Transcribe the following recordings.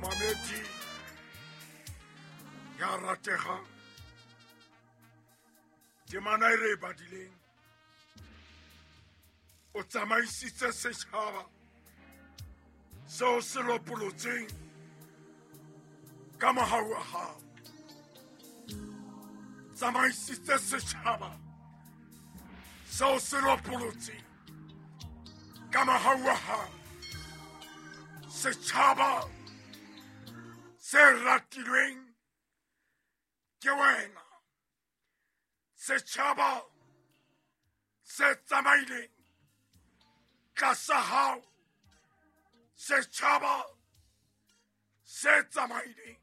Momamedi ya rategang, temana e re e badileng, o tsamaisitse setšhaba seo se lopolotseng ka mohau wa hao. Tsamaisitse setšhaba seo se lopolotseng ka mohau wa hao. Setšhaba se ratilweng ke wena, setšhaba se tsamaileng tlasa hao, setšhaba se tsamaileng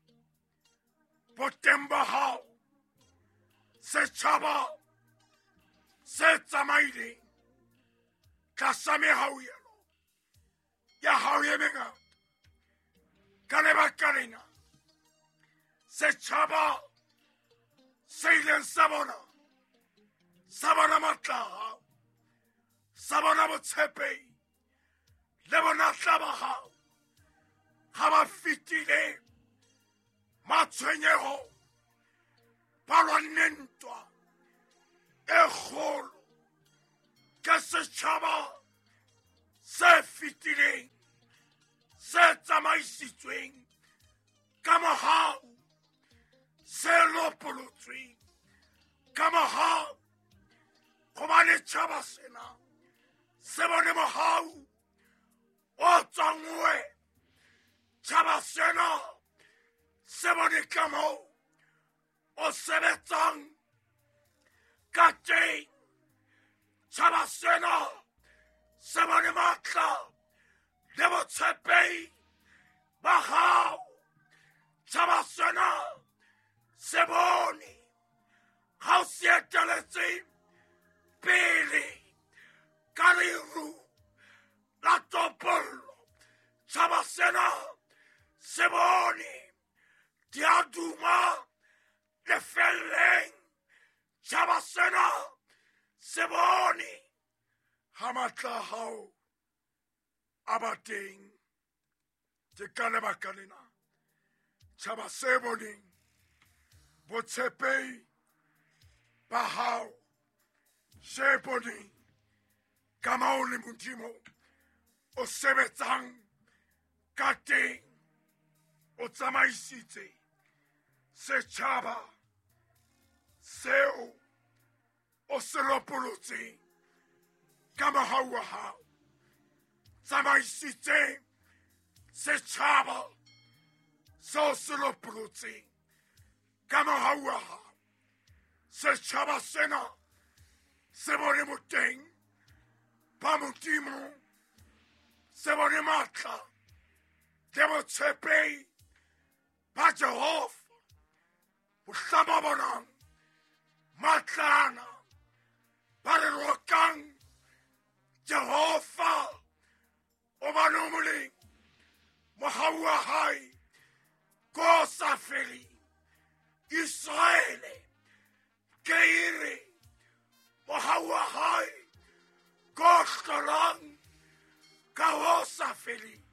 boteng ba hao, setšhaba se tsamaileng tlasa mehauhelo ya hao e mengata. Ka lebaka lena setšhaba se ileng sa bona, sa bona matla a hao, sa bona botshepehi le bonatla ba hao, ga ba fetile matshwenyego, ba lwanne ntwa e kgolo. Ke setšhaba se fetileng se tsamaisitsweng ka mohau, se lopolotsweng ka mohau, gobane tšhaba sena se bone mohau o tswang ho wena. Tšhaba sena se bone ka moo o sebetsang ka teng. Tšhaba sena se bone matla le botshepehi ba hao. Tšhaba sena se bone ga o se eteletse pele ka leru la topollo. Tšhaba sena se bone di a duma lefelleng. Tšhaba sena se bone ga matla a hao a ba teng. Ke ka lebaka lena tšhaba se boneng botshepehi ba hao, se boneng ka mao le Modimo o sebetsang ka teng. O tsamaisitse setšhaba seo o se lopolotseng ka mohau wa hao. Tsamaisitse setšhaba seo se lopolotseng ka mohau wa hao. Setšhaba sena se bone boteng ba Modimo, se bone matla le botshepehi ba Jehova. Mohlang ba bonang matlana ba re rokang Jehova, o bane o molemo, mohau wa hae ko sa feleng. Iseraele ke ere mohau wa hae ko hlolang ka ho sa feleng.